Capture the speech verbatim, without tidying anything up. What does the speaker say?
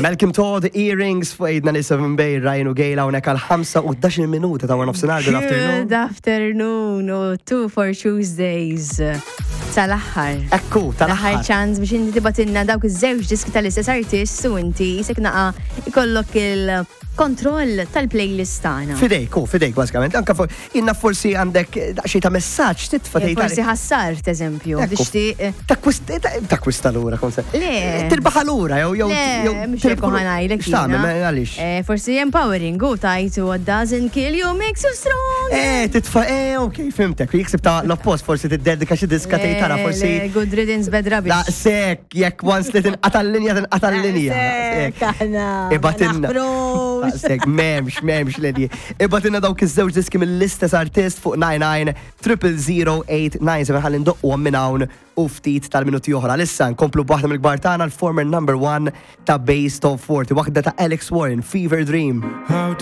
Malcolm Todd, Earrings fuq eight ninety-seven Bay, Ryan u Gail hawnhekk għal ħamsa u ħdax-il minuta ta' nofsinhar. Good afternoon. Good afternoon u two for Tuesdays. Tal-aħħar. Ekku, L-aħħar tal-aħħar. ċans biex inti tibgħatilna dawk iż-żewġ diski tal-istess artist u inti jisek naqa ikollok il-kontroll tal-playlist tagħna. Fidejk, u fidejk, bażikament. Anka for, inna forsi għandek daqsxejn ta' messaġġ titfa' tgħid Forsi ħassart, eżempju, Ekku. tixtieq. Takkwist- Takkwista lura, kon se. Le. Tirbaħa lura, jew jew Le, jew mhux tirbħu hekk ħa ngħidlek. X'tagħmel, Jiena. ma għaliex? Eh, Forsi empowering u tajt "What doesn't kill you makes you strong." Eh, titfa, eh, ok, fhimtek. Jiksib ta' l-oppost, forsi tiddedika xi diska tgħid tara Le, forsi. le, good riddance, bad rubbish. Da, sek, jekk once li tinqata' l-linja, tinqata' l-linja. Sek, aħna. Ibgħatilna. Naħbrux. Sek, m'hemmx, m'hemmx ledi. Ibgħatilna dawk iż-żewġ diski mill-istess artist fuq nine nine triple zero eight nine seven ħalli ndoqqu minn hawn u ftit tal-minuti oħra. Issa nkomplu b'waħda mill-kbar tagħna, l-former number one ta' Bass Top forty, waħda ta' Alex Warren, Fever Dream. How